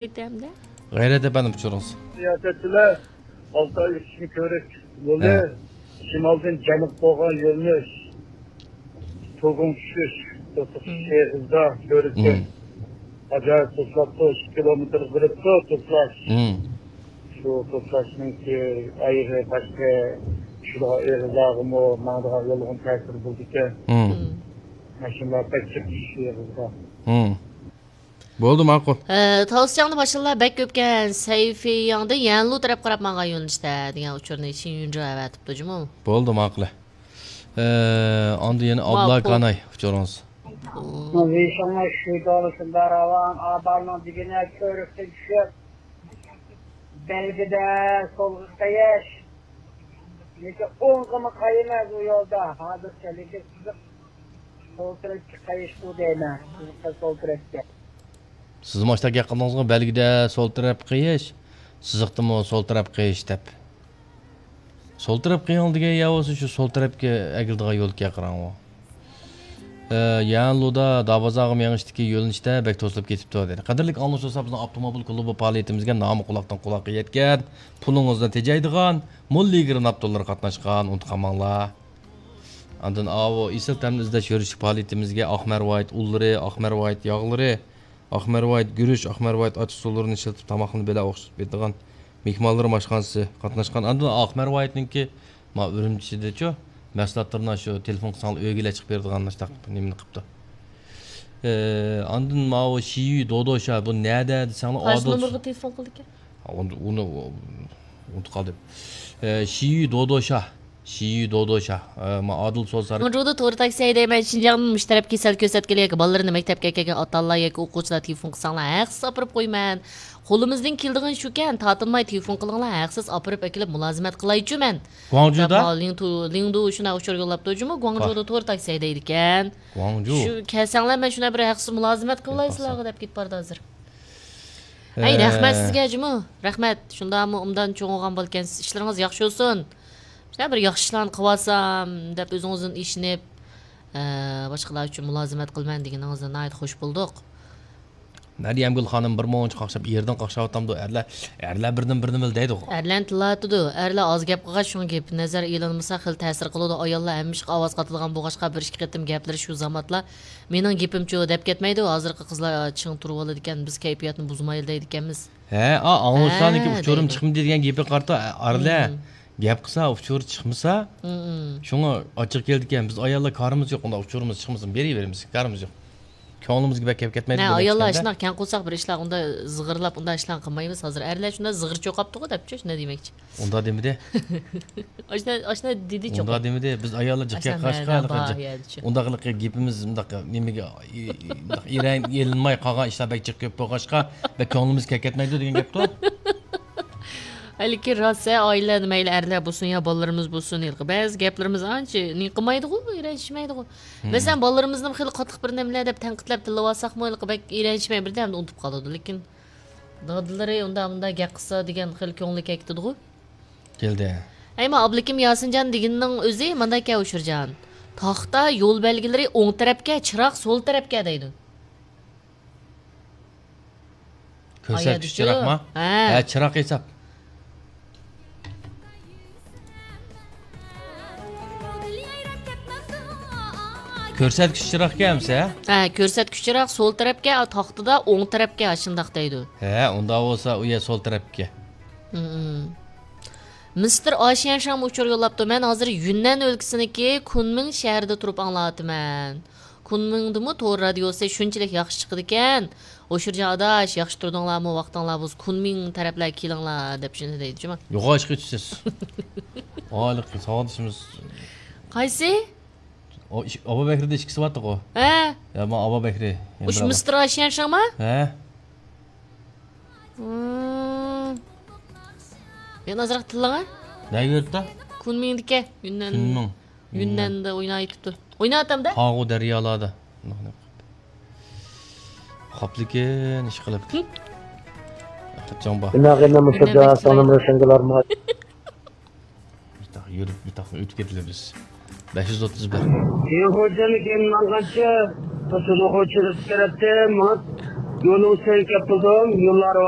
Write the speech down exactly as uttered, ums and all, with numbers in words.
غەيرەت ئەپەندىم، ئۇچۇرىڭىز. سىياسەتچىلەر ئالتاي ئۈچۈن كۆۋرۈك يولى، ھە، شىمالدىن جەنۇب بولغان يۆنىلىش، تۇرغۇن چۈشۈش، توسۇق، مم، ئېغىزدا كۆۋرۈكتىن، مم، ئاجايىپ توسلاپتۇ، ئىككى كىلومېتىر بېرىپتۇ توسلاش. مم. شۇ توسلاشنىڭكى ئايىغى باشقا شۇ ئېغىزلارغىمۇ، ماڭىدىغان يولغىمۇ تەسىر بولىدىكەن. مم. مم. ماشىنىلار بەك جىق چۈشۈش ئېغىزىغا. مم. بولدى، ماقۇل. ئە، تاۋۇسجاندا ماشىنىلار بەك كۆپكەن، سەيفىياڭدىن يەنلۇ تەرەپ قاراپ ماڭغان يۆنىلىشتە دېگەن ئۇچۇرنى شىنيۇنجۇ ئەۋەتىپتۇ جۇمۇ. بولدى، ماقۇل. ئە، ئاندىن يەنە ماقۇل. ئابلاكاناي ئۇچۇرىڭىز. ماقۇل. ۋېيشىڭنىڭ شۈيدالىسىدا راۋان ئابالنىڭ دېگىنە كۆۋرۈكتىن چۈشۈپ، بەلگىدە سولغا قېيىش. لېكىن ئوڭغىمۇ قايىمەن ئۇ يولدا. ھازىرچە لېكىن سىزىق سول تەرەپكە قايىشقۇ دەيمەن. سىزىققا سول تەرەپكە. سىز ماشتا گەپ قىلدىڭىزغۇ، بەلگىدە سول تەرەپ قېيىش، سىزىقتىمۇ سول تەرەپ قېيىش دەپ. سول تەرەپ قېيىڭ دېگەن يا بولسا شۇ سول تەرەپكە ئەگىلىدىغان يولكەن قاراڭغۇ. ئە، يەنلۇدا دابازاغا مېڭىشتىكى يۆنىلىشتە بەك توسۇلۇپ كېتىپتۇ، دېدى. قەدىرلىك ئاڭلىۋۇچىلار، بىزنىڭ ئاپتوموبىل كۇلۇبى پائالىيىتىمىزگە نامى قۇلاقتىن قۇلاققا يەتكەن، پۇلىڭىزنى تېجەيدىغان، موللىگرىن ئاپتورلىرى قاتناشقان، ئۇنتۇپ قالماڭلار. ئاندىن ئاۋۇ ئېسىل تەمنى ئىزدەش يۈرۈشلۈك پائالىيىتىمىزگە ئاق مەرۋايىت ئۇنلىرى، ئاق مەرۋايىت ياغلىرى، ئاق مەرۋايىت گۈرۈچ، ئاق مەرۋايىت ئاچ ئۇسۇللىرىنى ئىشلىتىپ، تاماقنى بىللە ئوخشىتىپ بېرىدىغان مېھمانلىرىم ئاشخانىسى قاتناشقان. ئاندىن ئاق مەرۋايىتنىڭكى، ما، ئۈرۈمچىدىچۇ، مەھسۇلاتلىرىنى شۇ تېلېفون قىلساڭلار ئۆيگىلا چىقىپ بېرىدىغان مۇشۇنداق نېمىنى قىپتۇ. ئە، ئاندىن ماۋۇ شىيۈ دودوشا، بۇ نەدە دېسەڭلار، قايسى ئادىل نومۇرغا تېلېفون قىلىدىكەن؟ ھا، ئۇنى، ئۇنى ئۇنتۇپ قالدىم. ئە، شىيۈ دودوشا. شىيۈ دودوشا. ئە، ما ئادىل سوزار. گۇاڭجۇدا تور تاكسى ھەيدەيمەن. شىنجاڭدىن مۇشۇ تەرەپكە سەل كۆرسەتكىلى ياكى بالىلىرىنى مەكتەپكە ئەكەلگەن ئاتا-ئانىلار ياكى ئوقۇغۇچىلار تېلېفون قىلساڭلار ھەقسىز ئاپىرىپ قويىمەن. قولىمىزدىن كېلىدىغىنى شۇكەن، تارتىنماي تېلېفون قىلىڭلار، ھەقسىز ئاپىرىپ ئەكېلىپ مۇلازىمەت قىلايچۇ مەن. گۇاڭجۇدا؟ دەپ، لىڭتۇ، لىڭدۇ شۇنداق ئۇچۇر يوللاپتۇ جۇمۇ، گۇاڭجۇدا تور تاكسى ھەيدەيدىكەن. گۇاڭجۇ. شۇ، كەلسەڭلار مەن شۇنداق بىر ھەقسىز مۇلازىمەت قىلاي سىلەرگە دەپ كېتىپ بارىدۇ ھازىر. ئەي، ئە، رەھمەت سىزگە جۇمۇ. رەھمەت. شۇنداقمۇ ئوبدان چوڭ بولغان بولىكەنسىز. ئىشلىرىڭىز ياخشى بولسۇن. شۇنداق بىر ياخشى ئىشلارنى قىلىۋالسام دەپ ئۆزىڭىزدىن ئىشىنىپ، ئە، باشقىلار ئۈچۈن مۇلازىمەت قىلىمەن دېگىنىڭىزدىن ناھايىتى خوش بولدۇق. مەريەمگۈل خانىم بىر مۇنچە قاقشاپ، ئېرىدىن قاقشاۋاتامدۇ، ئەرلەر، ئەرلەر بىردىن بىرنى بىل دەيدىغۇ. ئەرلەرنى تىللاۋاتىدۇ. ئەرلەر ئاز گەپ قىلغاچ، شۇڭا گېپى نەزەر ئېلىنمىسا خېلى تەسىر قىلىدۇ. ئاياللار ھەممە ئىشقا ئاۋاز قاتىدىغان بولغاچقا، بىر ئىككى قېتىم گەپلىرى شۇ زاماتلا، مېنىڭ گېپىمچۇ دەپ كەتمەيدۇ. ھازىرقى قىزلار چىڭ تۇرۇۋالىدىكەن، بىز كەيپىياتنى بۇزمايلى دەيدىكەنمىز. ھە، ئا، ئاڭلىسانىكى ھە، ئۇچۇرۇم دەيدۇ. چىقمىدى دېگەن گېپىگە قارىتا، ئەرلەر، مم، گەپ قىلسا، ئۇچۇر چىقمىسا، مم، شۇڭا ئاچچىقى كېلىدىكەن. بىز ئاياللار كارىمىز يوق، ئۇنداق ئۇچۇرىمىز چىقمىسۇن، بېرىۋېرىمىز، كارىمىز يوق. كۆڭلىمىزگە بەك كەپ كەتمەيدۇ نە، بۇ ئاياللار گەپ ئىچكەندە. شۇنداق كەڭ قورساق بىر ئىشلار ئۇنداق زىغىرلاپ، ئۇنداق ئىشلارنى قىلمايمىز ھازىر. ئەرلەر شۇنداق زىغىر چوقاپتىغۇ دەپچۇ، شۇنداق دېمەكچى. ئۇنداق دېمىدى. ئاشۇنداق، ئاشۇنداق دېدىچۇ. ئۇنداق دېمىدى. بىز ئاياللار جىق ئاشۇنداق گەپ قىلغاچقا، مەنە بار يەرچۇ. ئۇنداق قىلىپ گېپىمىز مۇنداق نېمىگە، ئى-، ئى-، مۇنداق ئېرەن ئېلىنماي قالغان ئىشلار بەك جىق كۆپ بولغاچقا، بەك كۆڭلىمىز كەپ كەتمەيدۇ دېگەن گەپتۇ. ھەلىكى راست، ھە، ئائىلىلەردە مەيلى ئەرلەر بولسۇن يا بالىلىرىمىز بولسۇن، ھېلىقى بەزى گەپلىرىمىز ئانچە نېمە قىلمايدىغۇ، رەنجىشمەيدىغۇ. مم. مەسىلەن، بالىلىرىمىزنىمۇ خېلى قاتتىق بىر نېمىلەر دەپ تەنقىدلەپ تىللىۋالساقمۇ، ھېلىقى بەك رەنجىشمەي بىردەمدە ئۇنتۇپ قالىدۇ. لېكىن دادىلىرى ئۇنداق، مۇنداق گەپ قىلسا دېگەن خېلى كۆڭلى كەتكىدىغۇ. كەلدى. ئەي، ما ئابلىكىم ياسىنجان دېگىنىنىڭ ئۆزى مانداكەن، ئۇچۇرجان. تاختا يول بەلگىلىرى ئوڭ تەرەپكە، چىراغ سول تەرەپكە دەيدۇ. كۆرسەتكۈچ ئايادىچۇ. چىراغما؟ ھە. ھە، چىراغ ھېساب. كۆرسەتكۈچ چىراغكەن ئەمسە؟ ھە، كۆرسەتكۈچ چىراغ سول تەرەپكە، تاختىدا ئوڭ تەرەپكە، ئاشۇنداق دەيدۇ. ھە، ئۇنداق بولسا ئۇ يەر سول تەرەپكە. مىستېر ئاشيەنشاڭمۇ ئۇچۇر يوللاپتۇ. مەن ھازىر يۈننەن ئۆلكىسىنىڭكى كۇنمىڭ شەھىرىدە تۇرۇپ ئاڭلاۋاتىمەن. كۇنمىڭدىمۇ تور رادىيوسى شۇنچىلىك ياخشى چىقىدىكەن. ھوشۇرجان ئاداش، ياخشى تۇردۇڭلارمۇ؟ ۋاقتىڭلار بولسا كۇنمىڭ تەرەپلەرگە كېلىڭلار دەپ شۇنى دەيدۇ جۇما. يوغان ئىشقا يېتىشسىز. ھېلىقى ساۋاقدىشىمىز. قايسى؟ ئۇ ئىش-، ئابۇ بەكرىدە ئىككىسى بارتىغۇ. ھە. يا، ما ئابۇ بەكرى. مۇشۇ مىستېر ئاشيەنشاڭما؟ ھە. مم. يەنە ئازراق تىللاڭا. نەگە يۈرۈپتۇ؟ كۇنمىڭدىكى. يۈننەن. كۇنمىڭ. يۈننەندە ئويناۋېتىپتۇ. ئويناۋاتامدا؟ قاغۇ دەريالاردا. قاپلىكىن ئىش قىلىپ. قاچاڭ بار. بىناغىنە مۇشۇدا يۈننەن سانىمى شەڭگىلارما. بىتاق يۈرۈپ، بىتاق ئۆتۈپ كېتىلىمىز. بەش يۈز ئوتتۇز بىر. يېڭىخوجىنى كېيىن ماڭغانچە، توسۇلغۇچى تەرەپتىن ماڭىپ، يولىڭىز سەن كەپ قىلدىم، يوللار